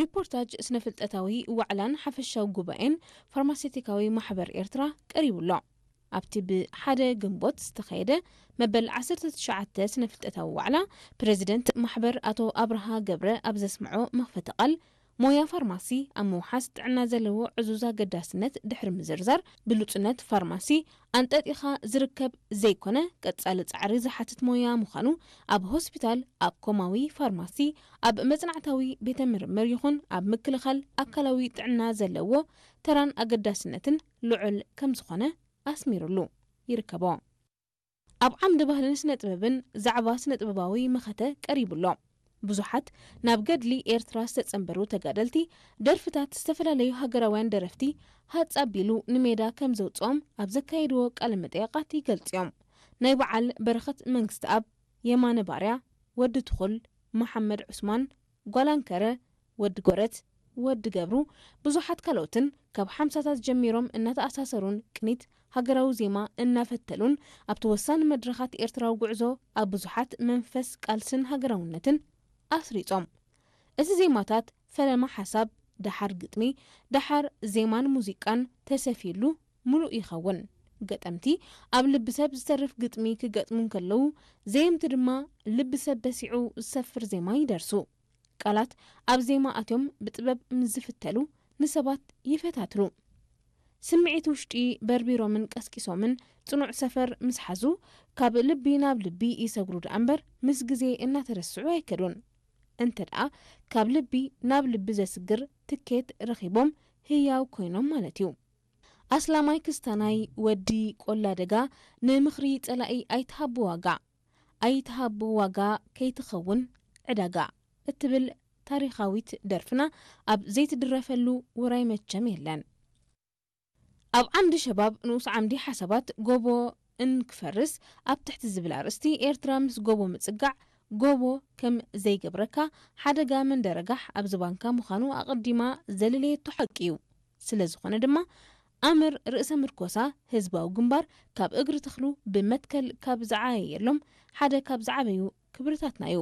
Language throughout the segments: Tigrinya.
ሪፖርታጅ ስነፍልጠታዊ ዋዕላን ሓፈሻዊ ጉባኤን ፋርማሴቲካዊ ማሕበር ኤርትራ ቀሪቡ ኣሎ። ኣብቲ ብ ሓደ ግንቦት ዝተኻየደ መበል ዓሰርተ ትሽዓተ ስነፍልጠታዊ ዋዕላ፣ ፕረዚደንት ማሕበር ኣቶ ኣብርሃ ገብረ ኣብ ዘስምዖ መኽፈቲ ቃል፣ ሞያ ፋርማሲ ኣብ ምውሓስ ጥዕና ዘለዎ ዕዙዝ ኣገዳስነት ድሕሪ ምዝርዛር፣ ብሉጽነት ፋርማሲ ኣንጠጢኻ ዝርከብ ዘይኮነ፣ ቀጻሊ ጻዕሪ ዝሓትት ሞያ ምዃኑ፣ ኣብ ሆስፒታል፣ ኣብ ኮማዊ ፋርማሲ፣ ኣብ መጽናዕታዊ ቤተ ምርምር ይኹን ኣብ ምክልኻል ኣካላዊ ጥዕና ዘለዎ ተራን ኣገዳስነትን ልዑል ከም ዝኾነ ኣስሚሩሉ ይርከቦ። ኣብ ዓምዲ ባህልን ስነ ጥበብን ዛዕባ ስነ ጥበባዊ መኸተ ቀሪቡ ኣሎ። ብዙሓት ናብ ገድሊ ኤርትራ ዝተጸንበሩ ተጋደልቲ፣ ደርፍታት ዝተፈላለዩ ሃገራውያን ደረፍቲ ሃጽ ኣቢሉ ንሜዳ ከም ዘውጽኦም ኣብ ዘካየድዎ ቃለ መጠይቓት ይገልጽ እዮም። ናይ በዓል በረኸት መንግስተኣብ፣ የማነ ባርያ፣ ወዲ ትኹል፣ መሓመድ ዑስማን፣ ጓል ኣንከረ፣ ወዲ ጎረት፣ ወዲ ገብሩ፣ ብዙሓት ካልኦትን ካብ ሓምሳታት ጀሚሮም እናተኣሳሰሩን ቅኒት ሃገራዊ ዜማ እናፈተሉን ኣብቲ ወሳኒ መድረኻት ኤርትራዊ ጉዕዞ ኣብ ብዙሓት መንፈስ ቃልስን ሃገራውነትን ኣስሪጾም። እዚ ዜማታት ፈለማ ሓሳብ፣ ደሓር ግጥሚ፣ ደሓር ዜማን ሙዚቃን ተሰፊሉ ምሉእ ይኸውን። ገጠምቲ ኣብ ልቢ ሰብ ዝተርፍ ግጥሚ ክገጥሙ እንከለዉ፣ ዘየምቲ ድማ ልቢ ሰብ በሲዑ ዝሰፍር ዜማ ይደርሱ። ቃላት ኣብ ዜማ ኣትዮም ብጥበብ ምስ ዝፍተሉ ንሰባት ይፈታትኑ። ስምዒት ውሽጢ በርቢሮምን ቀስቂሶምን ጽኑዕ ሰፈር ምስ ሓዙ፣ ካብ ልቢ ናብ ልቢ ይሰግሩ ደኣ እምበር ምስ ግዜ እናተረስዑ ኣይከዱን። እንተ ደኣ ካብ ልቢ ናብ ልቢ ዘስግር ትኬት ረኺቦም ህያው ኮይኖም ማለት እዩ። ኣስላማይ ክስታናይ ወዲ ቆላ ደጋ፣ ንምኽሪ ጸላኢ ኣይትሃቡ ዋጋ፣ ኣይትሃቡ ዋጋ ከይትኸውን ዕዳጋ እትብል ታሪኻዊት ደርፍና ኣብ ዘይትድረፈሉ ውራይ መቸም የለን። ኣብ ዓምዲ ሸባብ ንኡስ ዓምዲ ሓሳባት ጎቦ እንክፈርስ ኣብ ትሕቲ ዝብል ኣርእስቲ፣ ኤርትራ ምስ ጎቦ ምጽጋዕ፣ ጎቦ ከም ዘይገብረካ፣ ሓደጋ መንደረጋሕ ኣብ ዝባንካ ምዃኑ ኣቐዲማ ዘለለየቶ ሓቂ እዩ። ስለ ዝኾነ ድማ፣ ኣምር ርእሰ ምርኮሳ ህዝባዊ ግንባር ካብ እግሪ ተኽሉ ብመትከል ካብ ዝዓየየሎም ሓደ ካብ ዝዓበዩ ክብርታትና እዩ።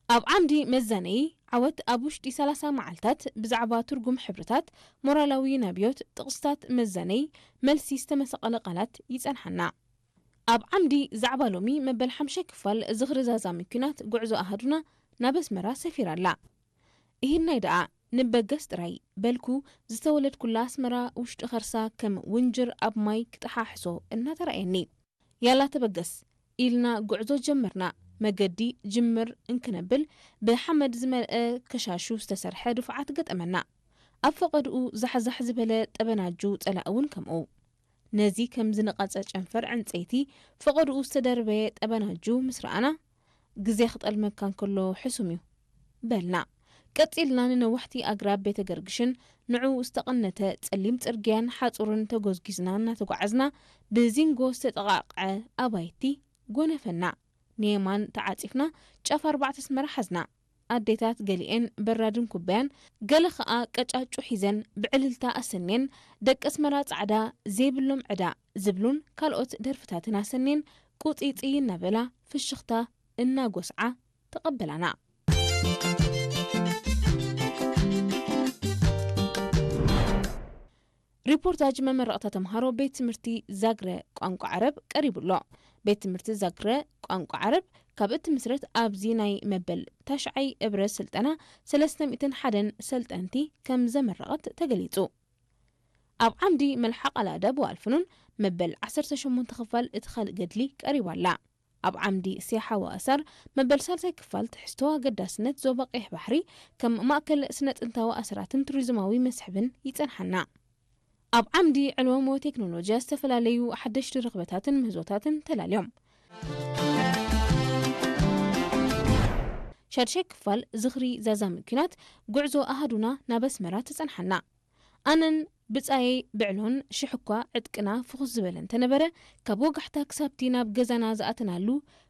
ኣብ ዓምዲ መዛነዪ ዓወት ኣብ ውሽጢ ሰላሳ መዓልታት ብዛዕባ ትርጉም ሕብርታት፣ ሞራላዊ ናብዮት፣ ጥቕስታት መዛነዪ መልሲ ዝተመሰቐለ ቃላት ይጸንሓና። ኣብ ዓምዲ ዛዕባ ሎሚ መበል ሓምሻይ ክፋል ዝኽሪ ዛዛሚ ኲናት ጉዕዞ ኣሃዱና ናብ ኣስመራ ሰፊራ ኣላ። እሂናይ ደኣ ንበገስ ጥራይ በልኩ ዝተወለድኩላ ኣስመራ ውሽጢ ኸርሳ ከም ውንጅር ኣብ ማይ ክጠሓሕሶ እናተራእየኒ። ያላ ተበገስ ኢልና ጉዕዞ ጀመርና። መገዲ ጅምር እንክነብል ብሓመድ ዝመልአ ከሻሹ ዝተሰርሐ ድፉዓት ገጠመና። ኣብ ፈቐድኡ ዛሕዛሕ ዝበለ ጠበናጁ ጸላኢ እውን ከምኡ። ነዚ ከም ዝነቐጸ ጨንፈር ዕንጸይቲ ፈቐድኡ ዝተደርበየ ጠበናጁ ምስ ረኣና፣ ግዜ ክጠልመካ እንከሎ ሕሱም እዩ በልና። ቀጺልና ንነዋሕቲ ኣግራብ ቤተ ገርግሽን ንዕኡ ዝተቐነተ ጸሊም ጽርግያን ሓጹርን ተጎዝጒዝና እናተጓዓዝና፣ ብዚንጎ ዝተጠቓቕዐ ኣባይቲ ጎነፈና። ንየማን ተዓጺፍና ጫፍ ኣርባዕተ ኣስመራ ሓዝና። ኣዴታት ገሊኤን በራድን ኩባያን፣ ገለ ኸኣ ቀጫጩ ሒዘን ብዕልልታ ኣሰንየን፣ ደቂ ኣስመራ ጻዕዳ ዘይብሎም ዕዳ ዝብሉን ካልኦት ደርፍታትን ኣሰንየን ቁጺጺ እናበላ ፍሽኽታ እናጎስዓ ተቐበላና። ሪፖርታጅ መመረቕታ ተምሃሮ ቤት ትምህርቲ ዛግረ ቋንቋ ዓረብ ቀሪቡ ኣሎ። ቤት ትምህርቲ ዛግረ ቋንቋ ዓረብ ካብ እትምስረት ኣብዚ ናይ መበል ታሽዓይ እብረ ስልጠና ሰለስተ ሚእትን ሓደን ሰልጠንቲ ከም ዘመረቐት ተገሊጹ። ኣብ ዓምዲ መልሓቕ ኣልኣዳብ ወኣልፍኑን መበል ዓሰርተ ሸሞንተ ክፋል እቲ ካልእ ገድሊ ቀሪባ ኣላ። ኣብ ዓምዲ ሴሓ ወኣሳር መበል ሳልሳይ ክፋል ትሕዝቶ ኣገዳስነት ዞባ ቀይሕ ባሕሪ ከም ማእከል ስነ ጥንታዊ ኣሰራትን ቱሪዝማዊ መስሕብን ይጸንሓና። ኣብ ዓምዲ ዕልወሞ ቴክኖሎጂያ ዝተፈላለዩ ሓደሽቲ ርኽበታትን ምህዞታትን ተላልዮም። ሻድሻይ ክፋል ዝኽሪ ዛዛሚ ኲናት ጉዕዞ ኣሃዱና ናብ ኣስመራ ተጸንሓና። ኣነን ብጻየይ ብዕሎን ሽሕ እኳ ዕጥቅና ፍኹስ ዝበለ እንተነበረ፣ ካብ ወጋሕታ ክሳብቲ ናብ ገዛና ዝኣተናሉ፣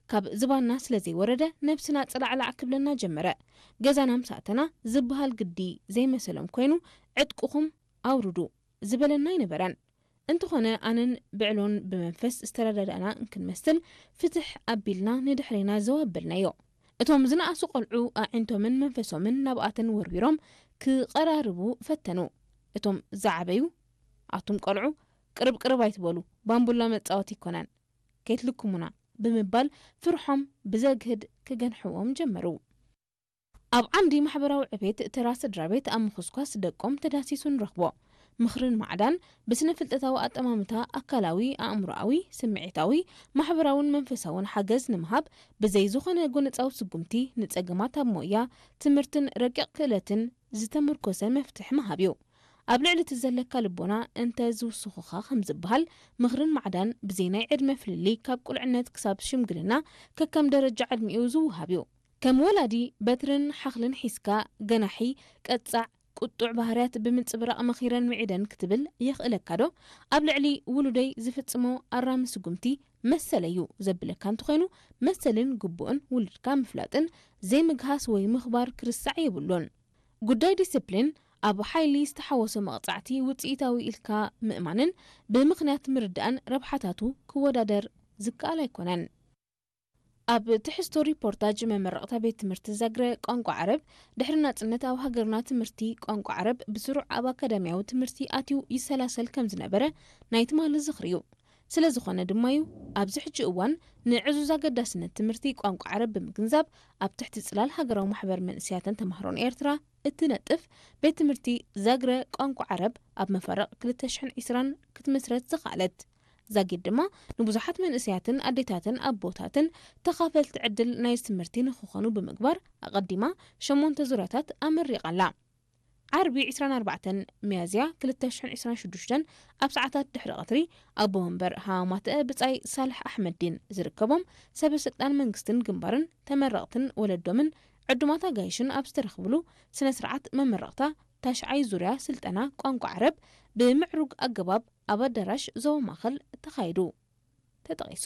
ካብ ዝባንና ስለ ዘይወረደ፣ ነብስና ጽላዕላዕ ክብለና ጀመረ። ገዛና ምስ ኣተና፣ ዝበሃል ግዲ ዘይመሰሎም ኮይኑ፣ ዕጥቅኹም ኣውርዱ ዝበለና ኣይነበረን። እንተኾነ፣ ኣነን ብዕሎን ብመንፈስ ዝተረዳዳእና እንክንመስል፣ ፍትሕ ኣቢልና ንድሕሬና ዘው ኣበልናዮ። እቶም ዝነኣሱ ቆልዑ ኣዒንቶምን መንፈሶምን ናብኣተን ወርዊሮም ክቐራርቡ ፈተኑ። እቶም ዝዓበዩ፣ ኣቱም ቆልዑ፣ ቅርብ ቅርብ ኣይትበሉ፣ ባምቡላ መጻወቲ ኣይኮነን፣ ከይትልክሙና፣ ብምባል ፍርሖም ብዘግህድ ክገንሕዎም ጀመሩ። ኣብ ዓምዲ ማሕበራዊ ዕቤት፣ ተራ ስድራ ቤት ኣብ ምኹስኳስ ደቆም ተዳሲሱ ንረኽቦ። ምኽርን ማዕዳን ብስነ ፍልጠታዊ ኣጠማምታ ኣካላዊ፣ ኣእምሮኣዊ፣ ስምዒታዊ፣ ማሕበራውን መንፈሳውን ሓገዝ ንምሃብ ብዘይ ዝኾነ ጎነጻዊ ስጉምቲ ንጸገማት ኣብ ሞያ፣ ትምህርትን ረቂቕ ክእለትን ዝተመርኮሰ መፍትሒ ምሃብ እዩ። ኣብ ልዕሊ እቲ ዘለካ ልቦና እንተ ዝውስኹኻ ከም ዝበሃል፣ ምኽርን ማዕዳን ብዘይ ናይ ዕድመ ፍልልይ ካብ ቁልዕነት ክሳብ ሽምግልና ከከም ደረጃ ዕድሚኡ ዝወሃብ እዩ። ከም ወላዲ በትርን ሓኽልን ሒዝካ ገናሒ፣ ቀጻዕ፣ ቁጡዕ ባህርያት ብምንጽብራቕ መኺረን ምዒደን ክትብል የኽእለካ ዶ? ኣብ ልዕሊ ውሉደይ ዝፍጽሞ ኣራሚ ስጉምቲ መሰለይ እዩ ዘብለካ እንተኾይኑ፣ መሰልን ግቡእን ውሉድካ ምፍላጥን ዘይምግሃስ ወይ ምኽባር ክርስዕ የብሉን። ጉዳይ ዲስፕሊን ኣብ ሓይሊ ዝተሓወሶ መቕጻዕቲ ውጽኢታዊ ኢልካ ምእማንን ብምኽንያት ምርዳእን ረብሓታቱ ክወዳደር ዝከኣል ኣይኮነን። ኣብ ትሕዝቶ ሪፖርታጅ መመረቕታ ቤት ትምህርቲ ዛግረ ቋንቋ ዓረብ፣ ድሕሪ ናጽነት ኣብ ሃገርና ትምህርቲ ቋንቋ ዓረብ ብስሩዕ ኣብ ኣካዳሚያዊ ትምህርቲ ኣትዩ ይሰላሰል ከም ዝነበረ ናይ ትማሊ ዝኽሪ እዩ። ስለ ዝኾነ ድማ እዩ ኣብዚ ሕጂ እዋን ንዕዙዝ ኣገዳስነት ትምህርቲ ቋንቋ ዓረብ ብምግንዛብ ኣብ ትሕቲ ጽላል ሃገራዊ ማሕበር መንእሰያትን ተማሃሮን ኤርትራ እትነጥፍ ቤት ትምህርቲ ዛግረ ቋንቋ ዓረብ ኣብ መፋርቕ ክልተ ሽሕን ዕስራን ክትምስረት ዝኸኣለት። ዛጊድ ድማ ንብዙሓት መንእሰያትን ኣዴታትን ኣቦታትን ተኻፈልቲ ዕድል ናይ ትምህርቲ ንኽኾኑ ብምግባር ኣቐዲማ ሸሞንተ ዙርያታት ኣመሪቓ ኣላ። ዓርቢ ዕስራን ኣርባዕተን ሚያዝያ ክልተ ሽሕን ዕስራን ሽዱሽተን ኣብ ሰዓታት ድሕሪ ቀትሪ ኣቦ መንበር ሃማማተአ ብጻይ ሳልሕ ኣሕመዲን ዝርከቦም ሰበ ስልጣን መንግስትን ግንባርን ተመረቕትን ወለዶምን ዕዱማት ኣጋይሽን ኣብ ዝተረኽብሉ ስነ ስርዓት መመረቕታ ታሽዓይ ዙርያ ስልጠና ቋንቋ ዓረብ ብምዕሩግ ኣገባብ ኣብ ኣዳራሽ ዞባ ማእከል ተኻይዱ ተጠቒሱ።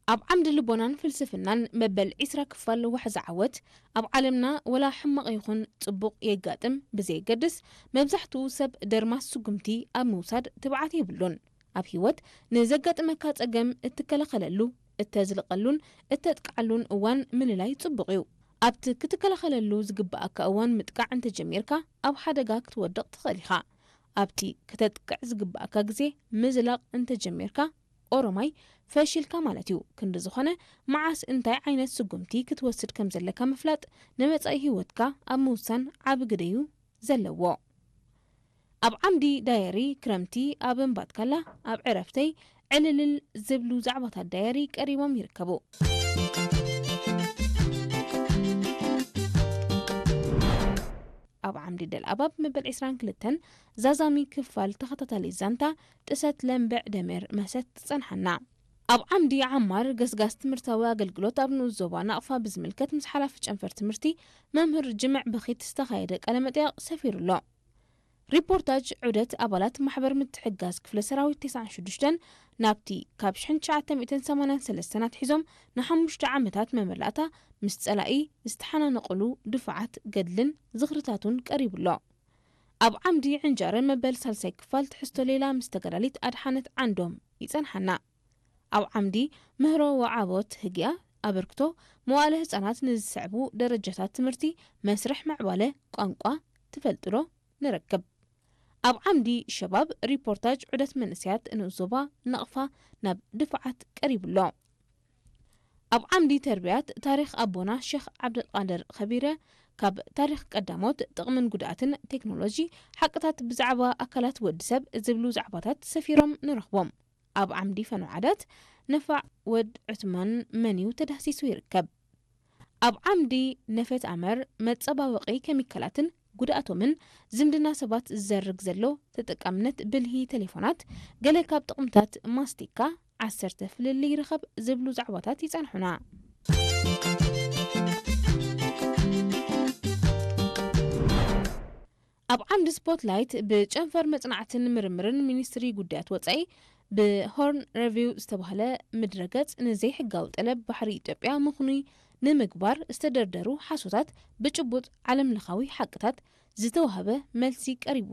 ኣብ ዓምዲ ልቦናን ፍልስፍናን መበል ዕስራ ክፋል ዋሕዚ ዓወት፣ ኣብ ዓለምና ወላ ሕማቕ ይኹን ጽቡቕ የጋጥም ብዘየገድስ፣ መብዛሕትኡ ሰብ ደርማስ ስጉምቲ ኣብ ምውሳድ ትብዓት የብሉን። ኣብ ህይወት ንዘጋጥመካ ጸገም እትከላኸለሉ፣ እተዝልቐሉን እተጥቅዓሉን እዋን ምልላይ ጽቡቕ እዩ። ኣብቲ ክትከላኸለሉ ዝግብኣካ እዋን ምጥቃዕ እንተጀሚርካ፣ ኣብ ሓደጋ ክትወድቕ ትኽእል ኢኻ። ኣብቲ ክተጥቅዕ ዝግብኣካ ግዜ ምዝላቕ እንተጀሚርካ፣ ኦሮማይ ፈሺልካ ማለት እዩ። ክንዲ ዝኾነ፣ መዓስ እንታይ ዓይነት ስጉምቲ ክትወስድ ከም ዘለካ ምፍላጥ ንመጻኢ ህይወትካ ኣብ ምውሳን ዓቢ ግደ እዩ ዘለዎ። ኣብ ዓምዲ ዳየሪ ክረምቲ ኣብ እምባትካላ ኣብ ዕረፍተይ ዕልልል ዝብሉ ዛዕባታት ዳየሪ ቀሪቦም ይርከቡ። ኣብ ዓምዲ ደልኣባብ መበል ዕስራን ክልተን ዛዛሚ ክፋል ተኸታታሊ ዛንታ ጥሰት ለምበዕ ደሜር መሰት ትጸንሓና። ኣብ ዓምዲ ዓማር ገስጋስ ትምህርታዊ ኣገልግሎት ኣብ ንኡስ ዞባ ናቕፋ ብዝምልከት ምስ ሓላፊ ጨንፈር ትምህርቲ መምህር ጅምዕ በኺት ዝተኻየደ ቃለ መጠይቕ ሰፊሩ ኣሎ። ሪፖርታጅ ዑደት ኣባላት ማሕበር ምትሕግጋዝ ክፍለ ሰራዊት ተስዓን ሽዱሽተን ናብቲ ካብ ሽሕን ትሽዓተ ሚእትን ሰማንያን ሰለስተን ኣትሒዞም ንሓሙሽተ ዓመታት መመላእታ ምስ ጸላኢ ዝተሓናነቑሉ ድፋዓት ገድልን ዝኽርታቱን ቀሪቡ ኣሎ። ኣብ ዓምዲ ዕንጃረ መበል ሳልሳይ ክፋል ትሕዝቶ ሌላ ምስ ተጋዳሊት ኣድሓነት ዓንዶም ይጸንሓና። ኣብ ዓምዲ ምህሮ ወዓቦት ህግያ ኣበርክቶ መዋእለ ህጻናት ንዝስዕቡ ደረጃታት ትምህርቲ መስርሕ ምዕባለ ቋንቋ ትፈልጡ ዶ? ንረክብ። ኣብ ዓምዲ ሸባብ ሪፖርታጅ ዑደት መንእሰያት ንኡስ ዞባ ናቕፋ ናብ ድፋዓት ቀሪቡ ኣሎ። ኣብ ዓምዲ ተርቢያት ታሪኽ ኣቦና ሼኽ ዓብደልቃድር ኸቢረ ካብ ታሪኽ ቀዳሞት ጥቕምን ጉድኣትን ቴክኖሎጂ ሓቅታት ብዛዕባ ኣካላት ወዲ ሰብ ዝብሉ ዛዕባታት ሰፊሮም ንረኽቦም። ኣብ ዓምዲ ፈኖ ዓዳት ነፋዕ ወድ ዑትማን መንዩ ተዳህሲሱ ይርከብ። ኣብ ዓምዲ ነፈት ኣመር መጸባበቒ ኬሚካላትን ጉድኣቶምን ዝምድና ሰባት ዝዘርግ ዘሎ ተጠቃምነት ብልሂ ቴሌፎናት ገለ ካብ ጥቕምታት ማስቲካ ዓሰርተ ፍልልይ ይርኸብ ዝብሉ ዛዕባታት ይጸንሑና። ኣብ ዓምዲ ስፖትላይት ብጨንፈር መጽናዕትን ምርምርን ሚኒስትሪ ጉዳያት ወጻኢ ብሆርን ሪቪው ዝተባህለ ምድረገጽ ንዘይሕጋዊ ጠለብ ባሕሪ ኢትዮጵያ ምኽኑይ ንምግባር ዝተደርደሩ ሓሶታት ብጭቡጥ ዓለምለኻዊ ሓቅታት ዝተዋህበ መልሲ ቀሪቡ